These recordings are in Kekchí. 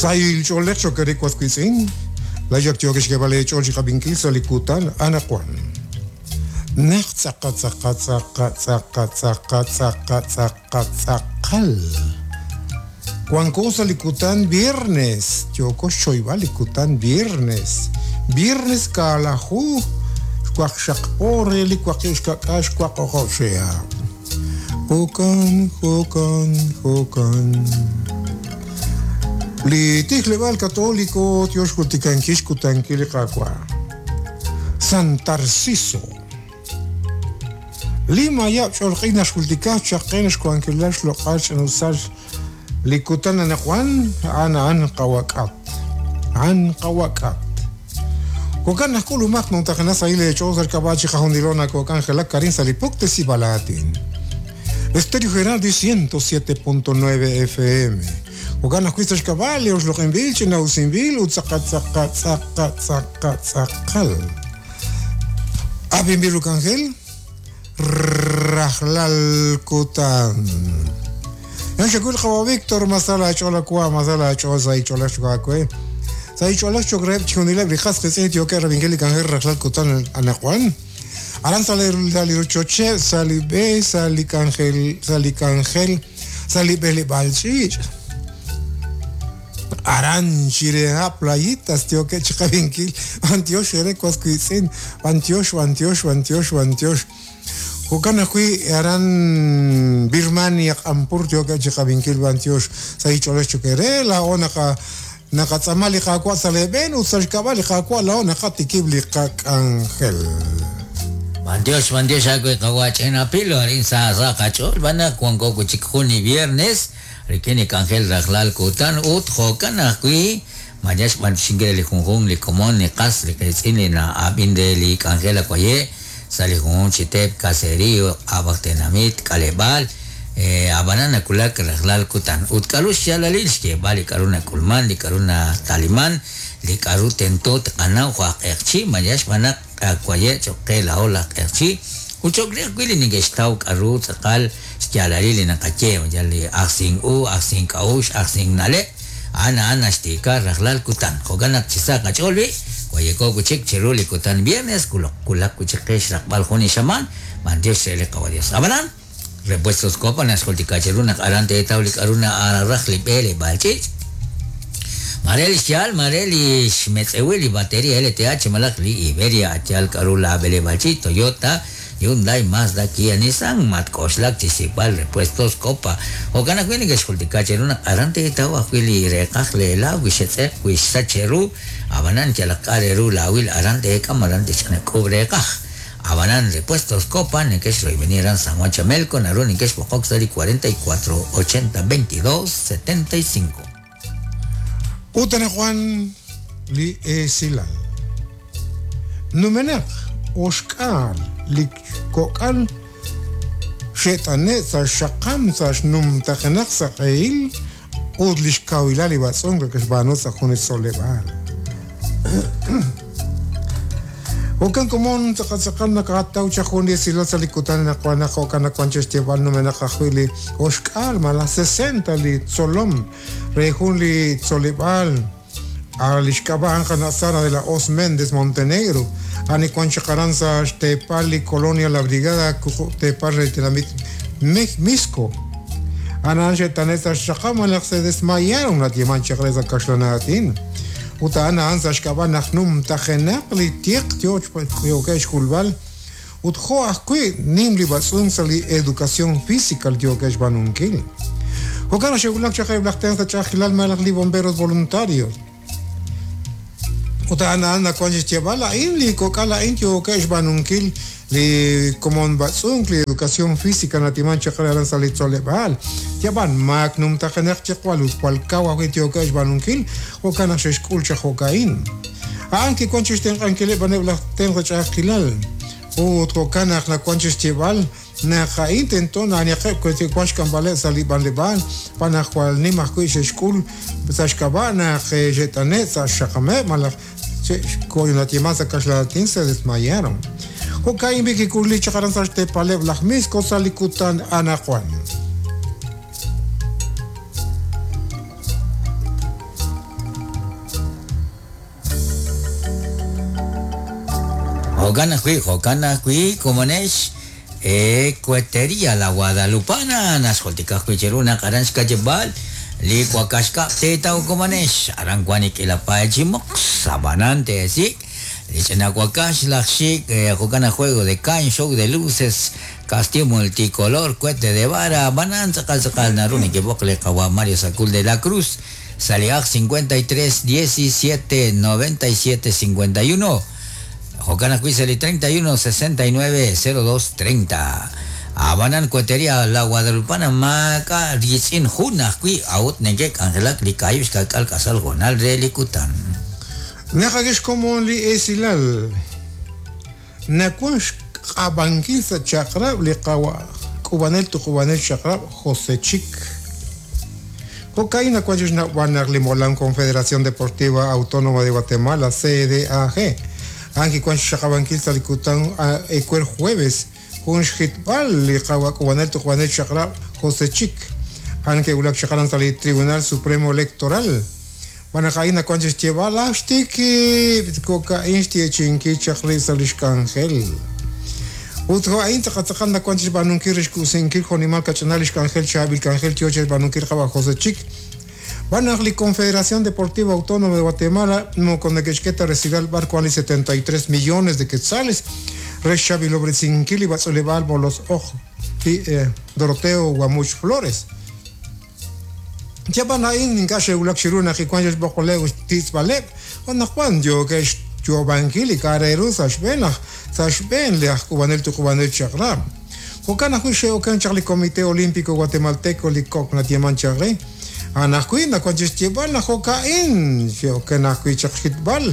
Sahil ch'oolej cho'q eere was wiitz'in, laa'ex ak yookex xk'eeb'al eech'ool chi qab'inkil sa' li kutan anaqwan. Naq tz'aqa tz'aqa tz'aqa tz'aqa tz'aqa tz'aqa tz'aqa tz'aqal. Wanko sa' li kutan viernes, yooko xchoyb'al li kutan viernes. Viernes kaalaju xwaqxaq po re li waqib' xka'k'aal xwaq o'q'ob' chihab'. Jo'kan, jo'kan, jo'kan. Li tijleb'aal Katoliko yo xjultikankil xkutankil li Qaawa'. San Tarciso. Li mayab' ch'olq'il naxjultika chaq qe xwankilal xloq'al xch'ina'usal li kutan anaqwan, a'an a'an qawak'at. A'an qawak'at. Jo'kan naq k'ulumaq numtajenaq sahil eech'ool sa' xk'ab'a' chiqajunilo nakok'anjelak arin sa' li puktesib'al aatin. Estéreo Gerardi 107.9 FM. Jo'kan ajwi' sa' xk'ab'a' li oxloq'inb'il, ch'ina'usinb'il ut tz'aqal tz'aqal tz'aqal tz'aqal tz'aqal. Ab'inb'il ru k'anjel rajlal kutan. Yan xakul qawa Víctor Masala ach'ool awa Masala ach'ool sa' ich'oolej cho'q aawe. Sa' ich'oolej cho'q reheb' chixjunileb' li qas qiitz'in yookeb' rab'inkil li k'anjel rajlal kutan anaqwan. Aran sa' li rochocheb', sa' li b'e, sa' li k'anjel, sa' li k'anjel, sa' li b'eleb'aal ch'iich'. Aran chire ha' Playitas yookeb' chiqab'inkil. B'antiox eere was wiitz'in, b'antiox, b'antiox, b'antiox, b'antiox. Jo'kan ajwi' aran Birmania Q'anpur yookeb' chiqab'inkil b'antiox sa' ich'oolej cho'q eere. Laa'o naqa naqatz'aama li Qaawa' sa' lee b'een ut sa' xk'ab'a' li Qaawa' laa'o naqatikib' li qak'anjel. B'antiox, b'antiox aawe qawa' Ch'ina Pilo, arin sa sa qach'ool b'an naq wanko wi' chik jun li viernes rik'in li k'anjel rajlal kutan ut jo'kan ajwi' maare xb'antioxinkil re li junjunq li komon li qas li qiitz'in li na'ab'in re li k'anjel awaye' sa' li junjunq chi teep, caserío, ab'aj tenamit, k'aleb'aal, ab'anan nawulak rajlal kutan. Ut k'a'ru xyaalalil xyeeb'al li k'a'ru nak'ulman, li k'a'ru nataliman, li k'a'ru tento tqanaw jo' aj q'eqchi', maare xb'aan naq awaye' cho'q qe laa'o laj q'eqchi' ut cho'q re ajwi' li neke'xtaw k'a'ru tz'aqal xyaalalil li naqaye, yal li ajsink u, ajsink k'a'uxl, ajsink na'leb', a'an a'an naxtiika rajlal kutan. Jo'kan naq chi sa qach'ool b'i', wayeko wi' chik chiru li kutan viernes, wulak wi' chik qe xraqb'al jun li xamaan, b'antiox re li Qawa' Dios. Ab'anan, Repuestos Copa naxjultika cheru naq aran teetaw li k'a'ru na'araj li b'eleb'aal ch'iich'. Maare li xyaal, maare li xmetz'ewil li bateria LTH malaj li Iberia a yaal k'a'ru laa b'eleb'aal ch'iich' Toyota, Hyundai, Mazda, Kia, Nissan, matk'oxlak chi xsik'b'al Repuestos Copa. Jo'kan ajwi' neke'xjultika cheru naq aran teetaw ajwi' li reeqaj lee laaw wi xetz'eq wi xsach cheru, ab'anan yalaq k'a' re ru laawil aran teek'am aran tixk'ub' reeqaj. Ab'anan Repuestos Copa neke'xroyb'eni aran San Juan Chamelco naru neke'xb'oqok sa' li 44 80 22 75. Ut anaqwan li esilal. Numenaq oxk'aal li kok'al xe't'ane' sa' xxaqam sa' xnumtajenaq sa' q'ehil ut li xkawilal li b'atz'unk neke'xb'aanu sa' jun li tzoleb'aal. Jo'kan komon tz'aqal tz'aqal nakaataw chaq jun li esilal sa' li kutan anaqwan naq jo'kan nawank chi xyeeb'al numenaq ajwi' li oxk'aal malaj sesenta li tzolom re jun li tzoleb'aal A Li xk'ab'a' a'an qana' Sara de la Hoz Méndez Montenegro, a'an li wank chaq aran sa' xteepal li Colonia La Brigada wuqub' teepal re li tenamit Mixco. A'an a'an xe'tane' sa' xxaqab' malaj se desmayaron nayeeman chaq re sa' kaxlan aatin. Ut a'an a'an sa' xk'ab'a' naq numtajenaq li tiq yookeb' xk'ulb'al ut jo' ajwi' nim li b'atz'unk sa' li educación física li yookeb' xb'aanunkil. Jo'kan naq xe'wulak chaq eb' laj tenq sa' ch'a'ajkilal malaj li bomberos voluntarios. Ut a'an a'an nawank chi xyeeb'al a'in li kok'al a'in yookeb' xb'aanunkil li komon b'atz'unk, li educación física natiman chaq re aran sa' li tzoleb'aal. Yab'an maak numtajenaq chiqwal ut jwal kaw ajwi' yookeb' xb'aanunkil, jo'kan naq xe'xk'ul chaq jo'ka'in. A'an kiwank chi xtenq'ankileb' b'an eb' laj tenq sa' ch'a'ajkilal. Ut jo'kan naq nawank chi xyeeb'al naq a'in tento na'aniqeb' wi wank xk'amb'aleb' sa' li b'anleb'aal, xb'aan naq jwal nim ajwi' xe'xk'ul sa' xk'ab'a' naq xe't'ane' sa' xxaqameb' malaj xe'xko'inayeeman sa' kaxlan aatin se desmayaron. Jo'ka'in b'i' kik'ulli chaq aran sa' xteepaleb' laj Mixco sa' li kutan anaqwan. Jo'kan ajwi', jo'kan ajwi', komonex, Cuetería La Guadalupana, naxjultika ajwi' cheru naq aran xka'yab'aal li wakax kab' teetaw komonex, aran wank li k'iila paay chi moqs, ab'anan teesik' li ch'ina wakax laj xik', jo'kan aj juego de caña, show de luces, castillo multicolor, cohete de vara, ab'anan tz'aqal tz'aqal naru nekeb'oq li qawa' Mario Sacul de la Cruz sa' li aj 53 17 97 51. Jo'kan ajwi' sa' li 31 69 02 30. Ab'anan Cuetería La Guadalupana maak'a' riitz'in jun ajwi' a'ut neke'k'anjelak li kaahib' xka'k'aal k'asal hoonal re li kutan. Naqak'e xkomon li esilal nawank xq'ab'ankil sa' chaq'rab' li qawa' k'uub'anel tuqub'anel chaq'rab' José Chic. Jo'ka'in nawank chi xnawb'al naq li molam Confederación Deportiva Autónoma de Guatemala, CDAG, a'an kiwank xxaqab'ankil sa' li kutan ewer jueves jun xjitb'al li qawa' k'uub'anel tuqub'anel chaq'rab' José Chic. A'an ke'wulak chaq aran sa' li Tribunal Supremo Electoral. Xb'aan naq a'in nawank chi xyeeb'al, Aj xtikib' jo'ka'in xyeechi'inkil chaq rib' sa' li xk'anjel. Ut jo' a'in tz'aqal tz'aqal nawank chi xb'aanunkil re xkub'sinkil jo'nimal kach'inal li xk'anjel chaab'il k'anjel yo chi xb'aanunkil qawa' José Chic. Xb'aan naq li Confederación Deportiva Autónoma de Guatemala moko neke'xk'e ta resilal b'ar wank li 73 millones de quetzales re xchaab'ilob'resinkil li b'atz'uuleb'aal Molos Oj Doroteo Guamuch Flores. Yab'an a'in ink'a' xe'wulak chiru naq kiwank xb'oqb'aleb' ut xtitz'b'aleb', ut naq wan yookeb' xyoob'ankil li k'a' re ru sa' xb'een laj sa' xb'een li aj k'uub'anel tuqub'anel chaq'rab'. Jo'kan ajwi' xe'oken chaq li Comité Olímpico Guatemalteco li kok nayeeman chaq re. A'an ajwi' nawank chi xyeeb'al naq jo'ka'in xe'oken ajwi' chaq xjitb'al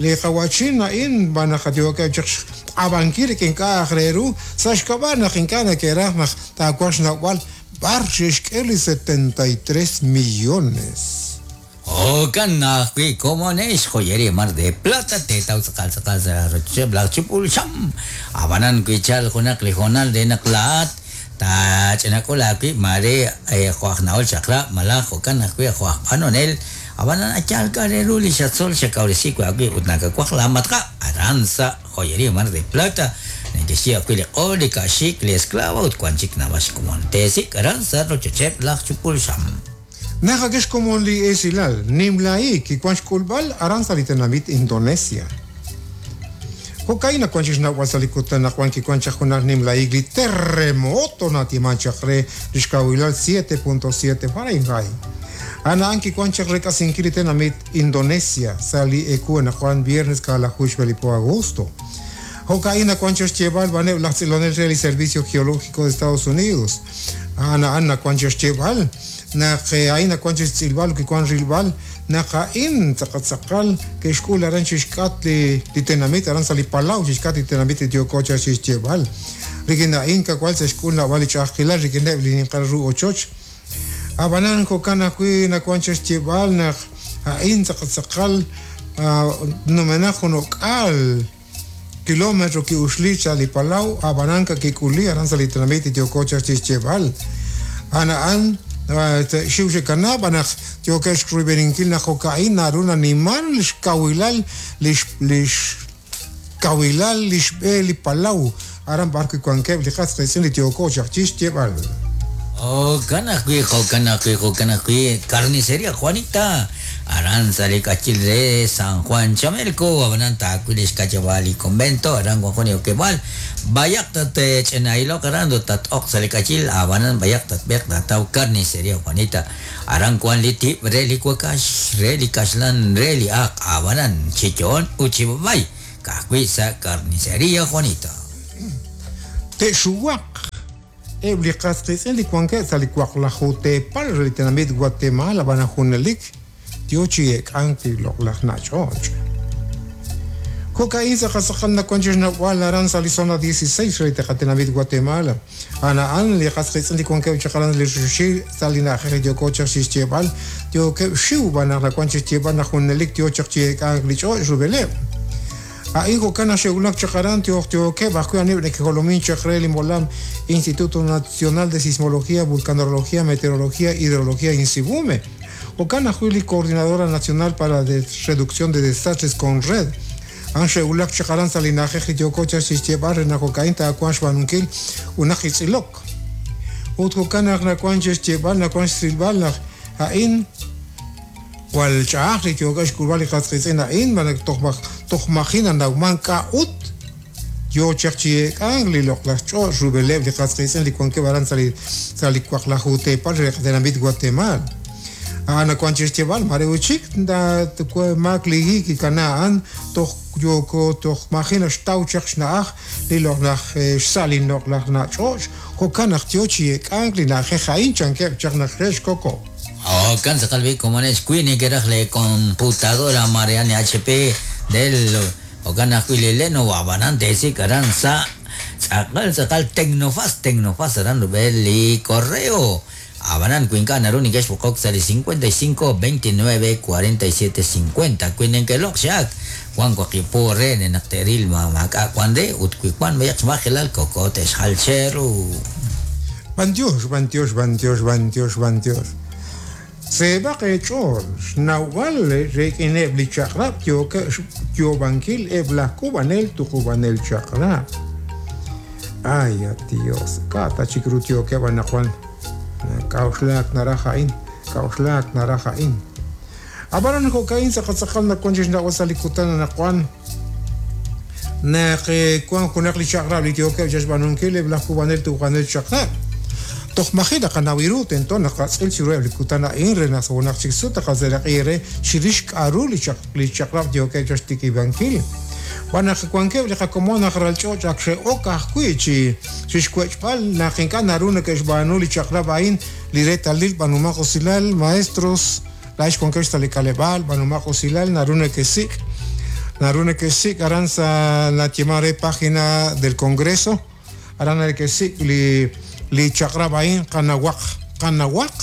li qawa'chin a'in xb'aan naq yookeb' chaq xq'ab'ankil rik'in k'a' aj re ru sa' xk'ab'a' naq ink'a' neke'raj naq taawanq xnawb'al B'ar xe'xk'e li 73 millones? Jo'kan ajwi' komonex Joyería Mar de Plata teetaw tz'aqal tz'aqal sa' rochocheb' laj chupul xam. Ab'anan wi tchalq junaq li hoonal re naq laa'at taach'inak'ul aawib' maare jo' aj na'ol chaq'rab' malaj jo'kan ajwi' jo' aj b'anonel, ab'anan a yaal k'a' re ru li xatzol xakawresi wi' aawib' ut nakawaj laamatq'ab' aran sa' Joyería Mar de Plata, neke'xye ajwi' li q'ol, li ka'xik, li esclava ut wank chik naab'al xkomon. Teesik' aran sa' rochocheb' laj chupul xam. Naqak'e xkomon li esilal nimla hiik kiwank xk'ulb'al aran sa' li tenamit Indonesia. Jo'ka'in nawank chi xnawb'al sa' li kutan naq wan kiwank chaq junaq nimla hiik li terremoto natiemank chaq re li xkawilal 7.7 Fahrenheit. A'an a'an kiwank chaq rek'asinkil li tenamit Indonesia sa' li ewu anaqwan viernes kaalaju xb'e li po agosto. Jo'ka'in nawank chaq xyeeb'al b'aneb' laj tz'ilonel re li Servicio Geológico de Estados Unidos. A'an a'an nawank chaq xyeeb'al naq a'in nawank chaq xtz'ilb'al ut kiwank rilb'al naq a'in tz'aqal tz'aqal ke'xk'ul aran chi xk'atq li tenamit aran sa' li palaw chi xk'atq li tenamit li yooko chaq chi xyeeb'al. Rik'in a'in kawal xe'xk'ul naab'al li ch'a'ajkilal rik'ineb' li ninqal ru ochoch. Ab'anan jo'kan ajwi' nawank chaq xyeeb'al naq a'in tz'aqal tz'aqal numenaq jun o'k'aal kilómetro ki'uxli sa' li palaw, ab'anan kakik'uli aran sa' li tenamit li yooko chaq chi xyeeb'al. A'an a'an xiw xe'kana b'an naq yookeb' xruyb'eninkil naq jo'ka'in naru naniman xkawilal li xkawilal li xb'e li palaw aran b'arwi' wankeb' li qas qiitz'in li yooko chaq chi xyeeb'al. Jo'kan ajwi', jo'kan ajwi', jo'kan ajwi', Carnicería Juanita, aran sa' li k'ayil re San Juan Chamelco, ab'anan taawil li xka'yab'aal li convento, aran wan jun li okeb'aal, b'ayaq tatch'inailoq aran ut tat-oq sa' li k'ayil, ab'anan b'ayaq tatb'eeq taataw Carnicería Juanita, aran wan li tib' re li wakax, re li kaxlan, re li aaq, ab'anan chi yo'on ut chi b'ab'ay. Ka'ajwi' sa' Carnicería Juanita. Te'xuwaq eb' li qas qiitz'in li wankeb' sa' li waqlaju teepal re li tenamit Guatemala ab'an junelik yo chi eek'ank li loq'laj na'ch'och'. Jo'ka'in tz'aqal tz'aqal nawank chi xnawb'al aran sa' li zona 16 re li qatenamit Guatemala. A'an a'an li qas qiitz'in li wankeb' chaq aran li ruxil sa' li na'ajej li yooko chaq chi xyeeb'al, yookeb' xxiw b'an naq nawank chi xyeeb'al naq junelik yo chaq chi eek'ank li ch'och' rub'eleb'. A'in jo'kan naq xe'wulak chaq aran toj yookeb' ajwi' aneb' neke'jolomin chaq re li molam Instituto Nacional de Sismología, Vulcanología, Meteorología, Hidrología, Insibume. Jo'kan ajwi' li Coordinadora Nacional para la Reducción de Desastres, Conred. A'an xe'wulak chaq aran sa' li na'ajej li yooko chaq chixyeeb'al re naq jo'ka'in taawanq xb'aanunkil junaq li tz'ilok. Ut jo'kan naq nawank chixyeeb'al, nawank xtz'ilb'al naq a'in jwal ch'a'aj li yookeb' xk'ulb'al li qas qiitz'in a'in, xb'aan naq toj maji' nanawmank k'a'ut yoo chaq chi eek'ank li loq'laj ch'och' rub'eleb' li qas qiitz'in li wankeb' aran sa' li sa' li waqlaju teepal re qatenamit Watemaal. A'an nawank chi xyeeb'al mare ut chik maak li hi kikana a'an toj yooko toj maji' naxtaw chaq xna'aj li loq'laj xsa' li loq'laj na' ch'och' jo'kan naq yoo chi eek'ank li na'ajej a'in chankeb' chaq naq re xkoko'. Jo'kan tz'aqal b'i' komonex wi nekeraj lee computadora mare a'an li HP, Dell, Jo'kan ajwi' li Lenovo, ab'anan teesik' aran sa' tz'aqal tz'aqal Tecnofast, Tecnofast aran rub'el li correo. Ab'anan wi ink'a' naru neke'xb'oqok sa' li 55 29 47 50. Wi neke'loq' xaak, wan waqib' po re re naq te'ril ma maak'a' wan re ut wi wan b'ayaq xmajelal koko te'xjal cheru. B'antiox, b'antiox, b'antiox, b'antiox, b'antiox. Seeb'aq eech'ool xnawb'al rik'ineb' li chaq'rab' yookeb' xyoob'ankil eb' laj k'uub'anel tuqub'anel chaq'rab'. Ay, at Dios, k'a' ta chik ru yookeb' anaqwan? K'a'uxlaak naraj a'in, k'a'uxlaak naraj a'in. Ab'anan jo'ka'in tz'aqal tz'aqal nawank chi xnawb'al sa' li kutan anaqwan naq wank junaq li chaq'rab' li yookeb' chixb'aanunkil eb' laj k'uub'anel tuqub'anel chaq'rab'. Toj maji' naqanaw ru tento naqatz'il chiruheb' li kutan a'in re naq sa' junaq chik sut taqaseeraq'i eere chirix k'a'ru li chaq'rab' yookeb' chaq xtikib'ankil. Xb'aan naq wankeb' li qakomon aj ral ch'och' ak xe'ok ajwi' chi chixwech'b'al naq ink'a' naru neke'xb'aanu li chaq'rab' a'in li reetalil b'aanumaq usilal, maestros, Laa'ex wankex sa' li k'aleb'aal, b'aanumaq usilal, naru nekesik', naru nekesik' aran sa' nayeeman re Página del Congreso, aran nekesik' li li chaq'rab' a'in qanawaq, qanawaq,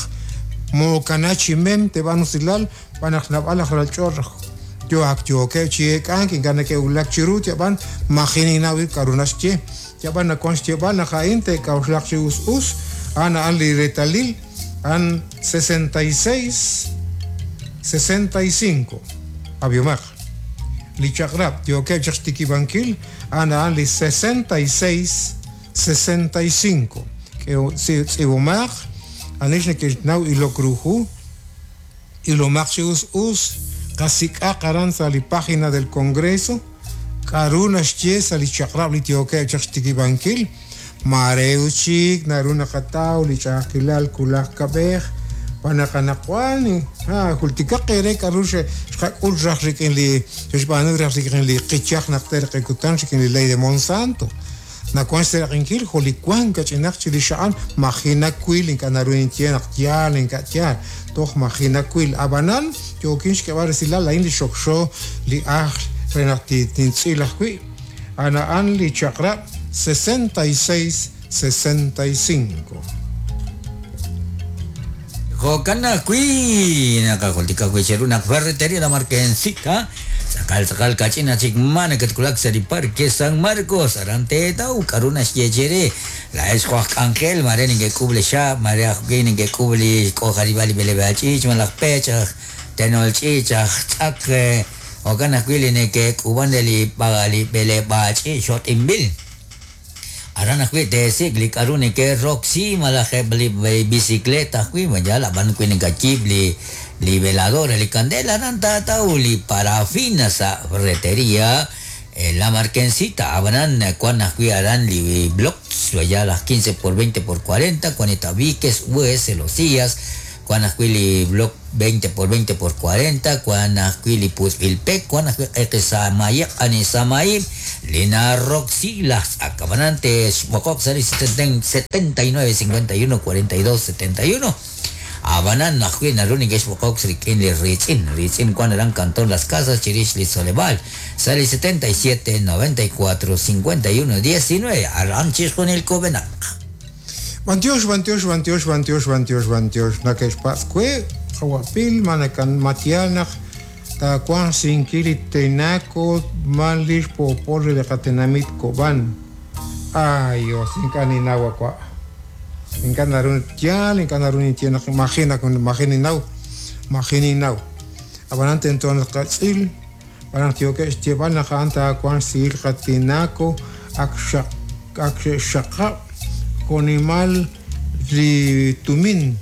mookana chi mem teeb'aanu usilal, xb'aan naq naab'al aj ral ch'och' yo ak yookeb' chi eek'ank ink'a' neke'wulak chiru, yab'an maji' ninnaw ib' k'a'ru naxye, yab'an nawank xyeeb'al naq a'in te'k'a'uxlaq chi us us, a'an a'an li reetalil. A'an 66, 65. Ab'ihomaq. Li chaq'rab' yookeb' chaq xtikib'ankil, a'an a'an li 66, 65. Tz'iib'omaq, anix neke'xnaw ilok ru hu, ilomaq chi us us, qasik'aq aran sa' li página del Congreso, k'a'ru naxye sa' li chaq'rab' li yookeb' chaq xtikib'ankil, maare ut chik naru naqataw li ch'a'ajkilal wulaj kab'ej, xb'aan naq anaqwan jultikaq eere k'a'ru xqak'ul raj rik'in li xe'xb'aanu raj rik'in li qichaj najter q'e kutan rik'in li ley de Monsanto. Nawank xseeraq'inkil jo' li wank kach'inaq chirix a'an, maji' nawil, ink'a' naru ninye naq yaal, ink'a' yaal, toj maji' nawil. Ab'anan, yookin xk'eb'al resilal a'in li xokxo li ajl re naq tintz'il ajwi'. A'an a'an li chaq'rab' 66, 65. Jo'kan ajwi', naqajultika ajwi' cheru naq Ferretería La Marquencita tz'aqal tz'aqal kach'in chik ma nakatwulak sa' li Parque San Marcos aran teetaw k'a'ru naxye chere laa'ex jo' aj k'anjel mare neke'k'uub' li xaab' mare ajwi' neke'k'uub' li xk'ojarib'al li b'eleb'aal ch'iich' malaj pech aj tenol ch'iich' aj tz'ak jo'kan ajwi' li neke'k'uub'an re li li b'eleb'aal ch'iich' xot'inb'il. Aran ajwi' teesik' li k'a'ru neke'roksi malaj eb' li bicicleta ajwi', ma yaal, ab'an wi nakayiib' li li veladora, li kandela, aran taataw li parafina sa' Ferretería La Marquencita, ab'anan wan ajwi' aran li blocks, ma yaal, aj 15 por 20 por 40, wan li tabiques, US, celosías, wan ajwi' li block 20 por 20 por 40, wan ajwi' li putz'b'il pek, wan ajwi' q'eqi sa'mayeb', q'ani sa'mayib', li naroksi laj tz'ak. Ab'anan te'xb'oqoq sa' li 79 51 42 71. Ab'anan ajwi' naru neke'xb'oqok rik'in li riitz'in. Riitz'in wan aran Cantón Las Casas chirix li tzoleb'aal sa' li 77 94 51 19 aran chixjunil kub'enaq. B'antiox, b'antiox, b'antiox, b'antiox, b'antiox, b'antiox, nake'xpatz' we, qawa' Pil, ma nakan ma yaal naq taawanq xsinkil li tenaco man li xpoopol re li qatenamit Cobán. Ay Dios, ink'a' ninnaw a wa'. Ink'a' naru yaal, ink'a' naru ninye naq maji' nak maji' ninnaw, maji' ninnaw. Ab'anan tento naq tqatz'il. B'araq yookeb' xyeeb'al naq a'an taawanq xsihil qatinaco ak xe'xxaqab' jo'nimal li tumin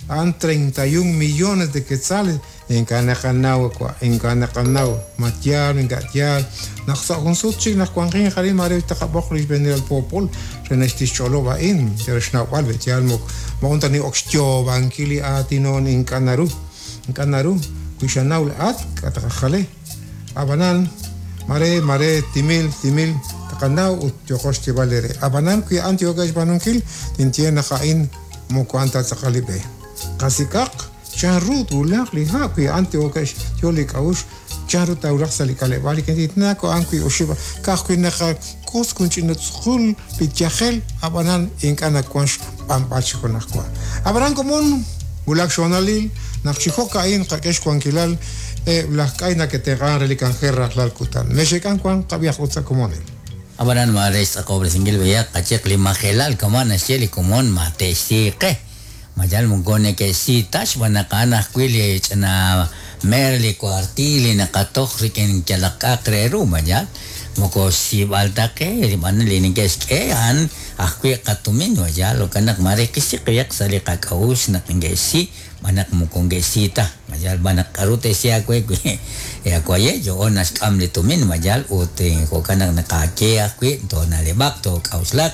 a'an 31 millones de quetzales ink'a' naqanaw wa ink'a' naqanaw ma yaal ink'a' yaal naq sa' jun sut chik naq wanqin arin mare taqab'oq li xb'eenil al poopol re naq tixch'olob' a'in re xnawb'al be yaal moqon ta ni'ok xyoob'ankil li aatinon ink'a' naru ink'a' naru wi xanaw la'at k'a taqajale ab'anan mare mare timil timil taqanaw ut yooqo xyeeb'al re ab'anan wi a'an yookeb' xb'aanunkil tinye naq a'in moko a'an ta tz'aqal li b'e qasik'aq chanru twulaq li ha' wi a'an yookeb' yo li k'a'uxl chanru tawulaq sa' li k'aleb'aal li tinaco a'an wi oxib' ka'ajwi' naqak'os jun ch'ina tz'uqul li yajel ab'anan ink'a' nawank xb'anb'al chi junajwa ab'anan komon wulak xhoonalil naq chi jo'ka'in qak'e xwankilal laj k'ay nake'tenq'an re li k'anjel rajlal kutan mexek'an wan qab'ihaq ut sa' komonil. Ab'anan mare xtz'aqob'resinkil b'ayaq qachiq li majelal kama' naxye li komon ma te'xsiiqe mayal moko neke'xsiita xb'aan naq a'an ajwi' li ch'ina mer li kuartil li naqatoj rik'in yalaq k'a'aq re ru mayal moko xsiib'al ta qe b'an li neke'xk'e a'an ajwi' qatumin mayal jo'kan naq mare qisiq b'ayaq sa' li qak'a'uxl naq neke'xsi b'an naq moko neke'xsiita mayal b'an naq k'aru te'xsi aawe wi awaye' yo'on naxk'am li tumin mayal ut jo'kan naq naqaye ajwi' toona'leb'aq took'a'uxlaq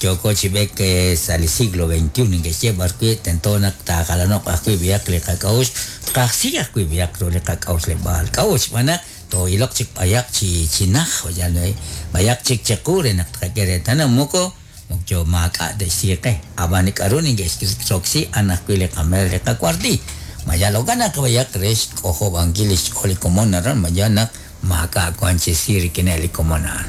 yooko chi b'eek sa' li siglo XXI neke'xye b'ar wi' tento naq taajalano'q ajwi' b'ayaq li qak'a'uxl tqajsi ajwi' b'ayaq ru li qak'a'uxleb'aal k'a'uxl xb'aan naq too'iloq chik b'ayaq chi chinaj mayal b'ayaq chik chiqu re naq tqak'e reetal naq moko yo maak'a' te'xsiiqe ab'an li k'aru neke'xroksi a'an ajwi' li qamer li qakuartil mayal jo'kan naq b'ayaq re xk'ojob'ankil li xch'ool li komon aran mayal naq maak'a' wank chi si rik'ineb' li komon a'an.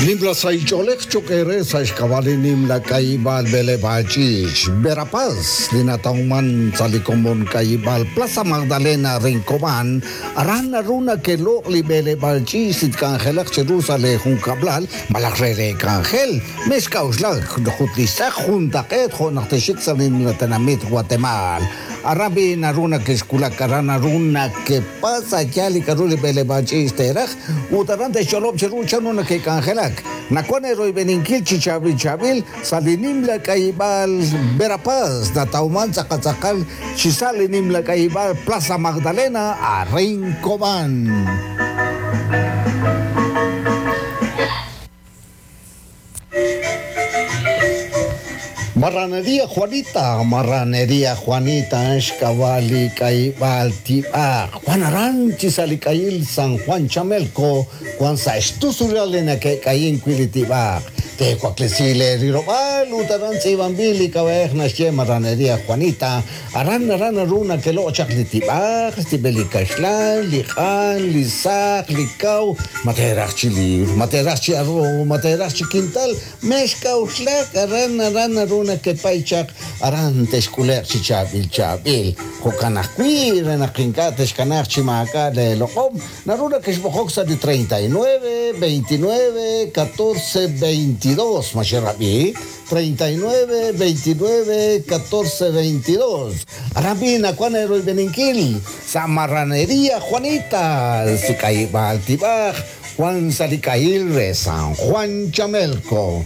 Nimla sahil ch'oolej cho'q eere sa' xk'ab'a' li nimla k'ayib'aal b'eleb'aal ch'iich' Verapaz li natawman sa' li komon k'ayib'aal Plaza Magdalena Rincobán aran naru nake'loq' li b'eleb'aal ch'iich li tk'anjelaq chiru sa' li junkab'lal malaj re re k'anjel mexk'a'uxlak jut li xtz'aq juntaq'eet jo' naq texik sa' li nimla tenamit Guatemala aran b'i naru nake'xkulak aran naru nakepasa yaal li k'aru li b'eleb'aal ch'iich teeraj ut aran te'xch'olob' chiru chanru nake'k'anjelak nawan eroyb'eninkil chi chaab'il chaab'il sa' li nimla k'ayib'aal Verapaz natawman tz'aqal chi sa' li nimla k'ayib'aal Plaza Magdalena a Rincobán. Marranería Juanita, Marranería Juanita, xk'ab'a' k'ayib'aal tib'aq Juan aran chi sa' li k'ayil San Juan Chamelco wan sa' xtusulal li nake'k'ayin wi' li tib'aq te'waklesi le rirob'aal ut aran tz'iib'anb'il li k'ab'a'ej naxye Marranería Juanita aran aran naru nake'loq' chaq li tib'aq xtib'el li kaxlan li q'an li saq li kaw ma teeraj chi liibr ma teeraj chi arroz ma teeraj chi quintal mexk'a'uxlak aran aran naru nakepay chaq aran te'xk'ule'q chi chaab'il chaab'il jo'kan ajwi' re naq ink'a' texkanaaq chi maak'a' leeloq'om naru nakexb'oqok sa' li 39 29 14 22 ma xerab'i 39 29 14 22 aran b'i nawan eroyb'eninkil sa' Marranería Juanita si k'ayib'aal tib'aj Juan sa' li k'ayil re San Juan Chamelco.